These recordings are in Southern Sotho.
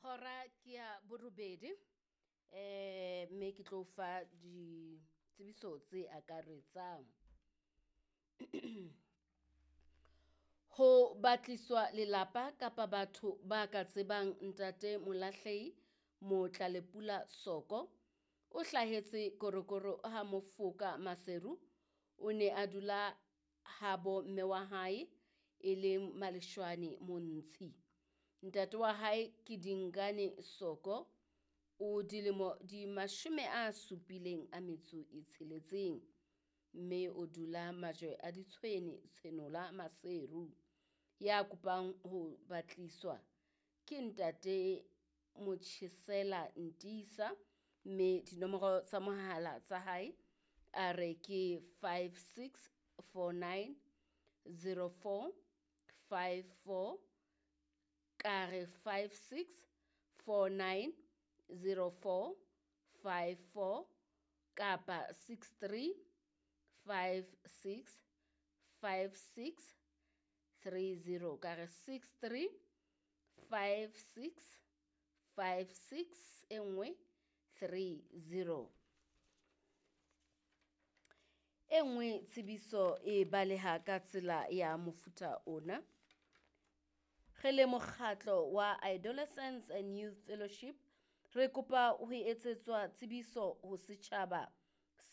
Hora ke ya borobedi mme ke tlo fa ditsebiso tse akaretsang. Ho batliswa lelapa kapa batho ba ka tsebang ntate Molahlehi Motlalepula Soko. O hlahetse Korokoro ha Mofoka Maseru. O ne a dula habo mme wa hae e leng Maleshwane Montshi. Ntate wa hae ke Dingane Soko o dilemo di 76 mme o dula Majwe a Ditshwene Tshenola Maseru. Ya kopang ho batliswa ke ntate Motjhesela Ntisa mme dinomoro tsa mohala tsa hae a re ke 5649 04 54 ka re 5649 04 54 kapa 63 56 56 30 ka re 63 56 56 e nngwe 30. E nngwe tsebiso e baleha ka tsela ya mofuta ona. Re le mokgatlo wa Adolescents and Youth Fellowship re kopa ho etsetswa tsebiso ho setjhaba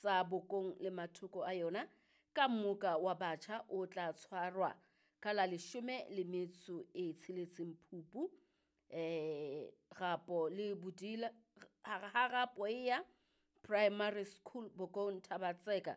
sa Bokong le mathoko a yona ka mmoka wa batjha o tla tshwarwa ka la 16 Phupu Rapo le Bodila ha Rapoeya Primary School Bokong Thaba-Tseka.